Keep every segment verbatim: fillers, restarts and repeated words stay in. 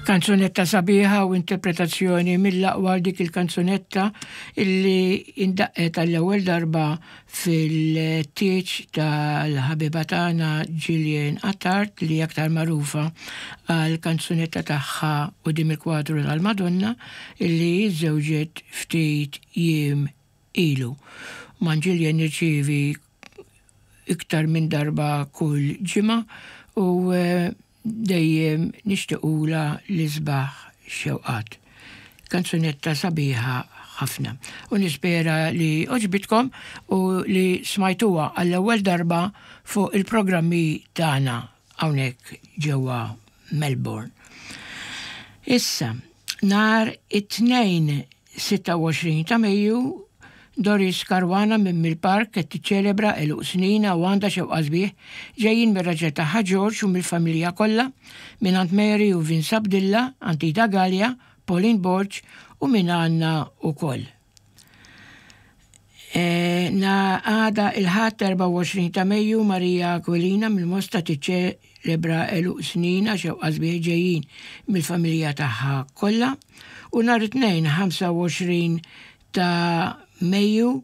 Kanzunetta sabiħa u interpretazzjoni mill-aqwa dik il-kanzunetta illi indaqqet għall-ewwel darba fil-tieġ tal-ħabiba tagħna Gillian Attard, li aktar magħrufa għal kanzunetta tagħha quddiem il-kwadru tal-Madonna, illi żżewġet ftit jiem ilu. Ma' Gillian nirċievi iktar minn darba kull ġimgħa u eh, dejjem nixtiequlha l-isbaħ xewqat. Kanzunetta sabiħa ħafna. U nispera li għoġbitkom u li smajtuha għall-ewwel darba fuq il-programmi tagħna hawnhekk ġewwa Melbourne. Issa, nhar it-Tnejn sitta u għoxrin ta' Mejju, Doris Caruana minn Mill-Park qed tiċċelebra għeluq snina u għandha xewqa sbieħ ġejjin mir-raġel tagħha George u mill-familja kollha, minn għand Mary u Vince Abdilla, Antita Gallia, Pauline Borg u minn għandna ukoll. E, na għada il-Ħadd erbgħa u għoxrin ta' Mejju, Maria Aquilina mill-Mosta tiċċelebra għeluq snina, xewqa sbieħ ġejjin mill-familja tagħha kollha, u nhar it-Tnejn ħamsa u għoxrin ta' Mejju,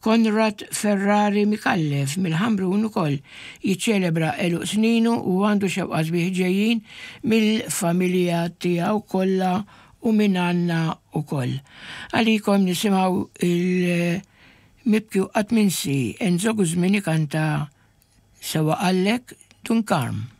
Konrad Ferrari Mikallef mill-Ħamrun ukoll jiċċelebra għeluq sninu u għandu xewqa sbieħ ġejjin mill-familja tiegħu kollha u minn għandna ukoll. Għalikom nisimgħu il-mibki u qatt minsi Enzo Guzmini kanta Sewwa Qallek Dun Karm.